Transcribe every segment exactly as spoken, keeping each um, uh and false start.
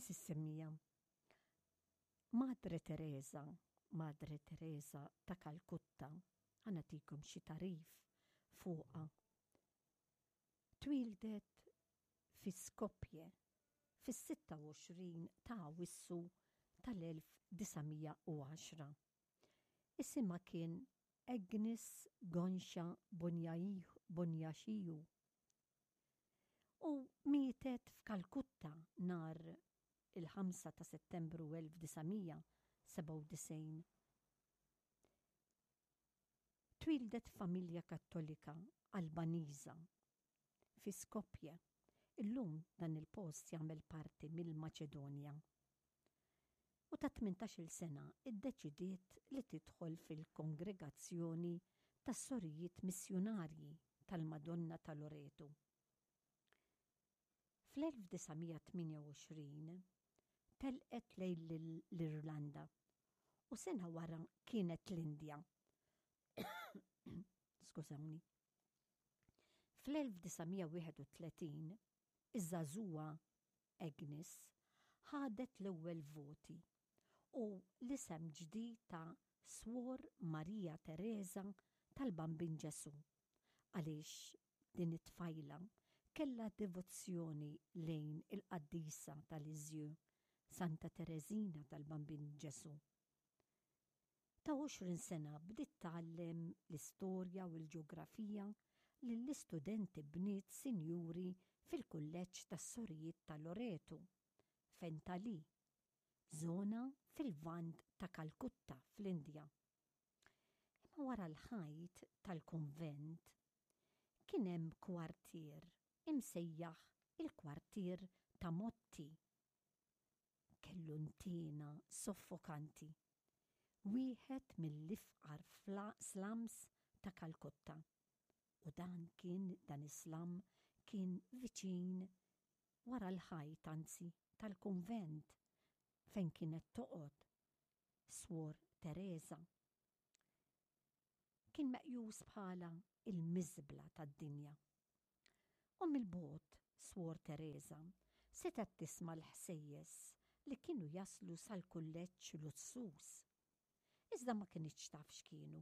Għeżież semmiegħa, Madre Teresa, Madre Teresa ta' Kalkutta, ħa nagħtikom xi tagħrif fuqha. Twieldet fi Skopje fis-sitta u għoxrin ta' Awwissu tal-elf disa' mija u għaxra. Isimha kien Agnes Gonxha Bonjaxiju u mietet f'Kalkutta nhar il-ħamsa ta' Settembru elf disa' mija sebgħa u disgħin. Twieldet f'familja Kattolika Albaniża fi Skopje. Illum dan il-post jagħmel parti mill-Maċedonja. U ta' tmintax-il sena iddeċidiet li tidħol fil-kongregazzjoni tas-sorijiet missjunarji tal-Madonna ta' Loreto. Fl-elf disa' mija tmienja u għoxrin telqet lejn l-Irlanda u sena wara kienet l-Indja. Skużawni. Fl-elf disa' mija wieħed u tletin, iż-żagħżugħa Agnes ħadet l-ewwel voti u l-isem ġdid ta' Swor Maria Teresa tal-Bambin Ġesu, għaliex din it-tfajla kellha devozzjoni lejn il-qaddisa tal-Iżju, Santa Teresina tal-Bambin Ġesu. Ta' għoxrin sena bdiet tgħallem l-istorja u l-ġeografija lill-istudenti bniet sinjuri fil-kulleġġ tas-sorijiet ta' Loreto, f'Entali, żona fil-Lvant ta' Kalkutta fl-Indja. Imma wara l-ħajt tal-kunvent kien hemm kwartier imsejjaħ il-kwartier ta' Motti. Kellu ntiena soffokanti, wieħed mill-ifqar slums ta' Kalkutta. U dan kien, dan is-slum kien viċin wara l-ħajt, anzi, tal-kunvent fejn kienet toqgħod Swor Teresa. Kien meqjus bħala il-miżbla tad-dinja. U mill-bogħod Swor Teresa setgħet tisma' l-ħsejjes li kienu jaslu sal-kulleġġ lussuż. Iżda ma kinitx taf x'kienu.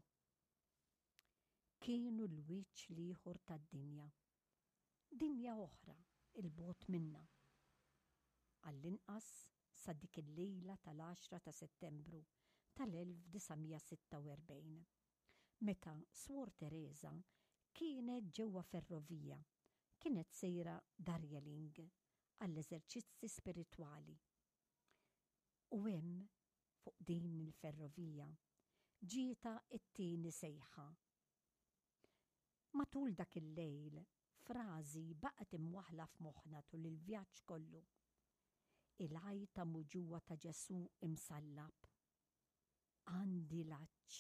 Kienu l-wiċċ l-ieħor tad-dinja. Dinja oħra il-bogħod minna. Għall-inqas sa dik il-lejla tal-għaxra ta' Settembru tal-elf disa' mija sitta u erbgħin, meta Swor Teresa kienet ġewwa ferrovija, kienet sejra Darjeeling għall-eżerċizzi spiritwali. U hemm fuq din il-ferrovija ġieta t-tieni sejħa. Matul dak il-lejl, frażi baqgħet imwaħla f'moħħna tul il-vjaġġ kollu. Il-għajta muġugħa ta' Ġesu imsallab. Għandi l-għatx.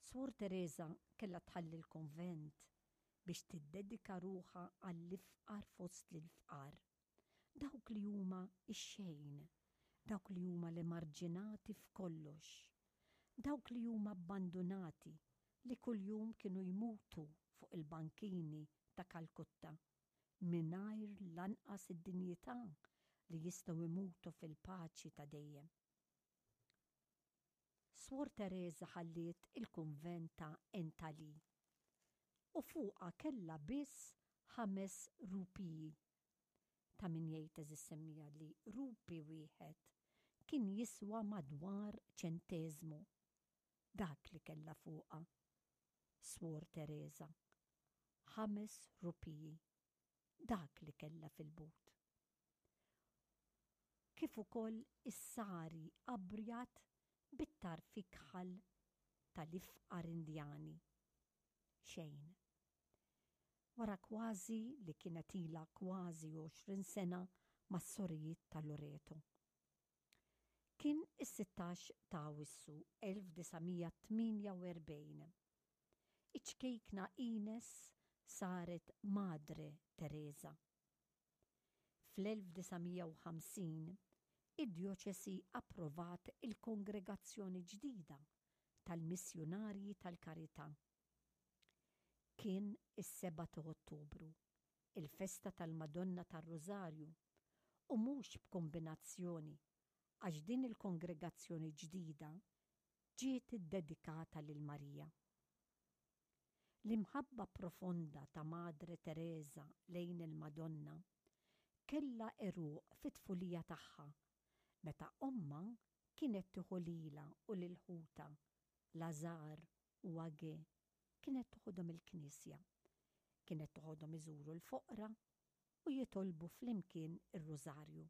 Swor Teresa kellha tħalli l-konvent biex tiddedika ruħha għall-ifqar fost l-ifqar. Dawk li huma ix-xejn, dawk li huma l-emarġinati f'kollox, dawk li huma abbandunati li kuljum kienu jmutu fuq il-bankini ta' Kalkutta, mingħajr lanqas id-dinjità li jistgħu jmutu fil-paċi ta' dejjem. Swor Teresa ħalliet il-kunvent ta' Entali u fuqha kellha biss ħames rupiji. Ta' min jgħid eżis semmija li rupi wieħed kien jiswa madwar ċenteżmu. Dak li kellha fuqha Swor Teresa, ħames rupiji, dak li kellha fil-but. Kif ukoll is-sari abjad bit-tarf ikħal tal-ifqar Indjani. Xejn. Wara kważi li kienet ilha kważi għoxrin sena mas-sorijiet ta' Loreto. Kien is-sittax ta' Awwissu elf disa' mija tmienja u erbgħin. Iċ-ċkejkna Ines saret Madre Teresa. Fl-elf disa' mija u ħamsin, id-djoċesi approvat il-kongregazzjoni ġdida tal-missjunarji tal-Karità. Kien is-seba ta' Ottubru, il-festa tal-Madonna tar-Rożarju, U mhux b'kombinazzjoni, għax din il-kongregazzjoni ġdida ġiet iddedikata lil Marija. L-imħabba profonda ta' Madre Tereża lejn il-Madonna kellha għeruq fit-tfulija tagħha, meta ommha kienet tieħu lilha u lil ħutha, Lazar u Age, kienet toħodhom il-knisja. Kienet toħodhom iżuru l-foqra u jitolbu flimkien ir-rużarju.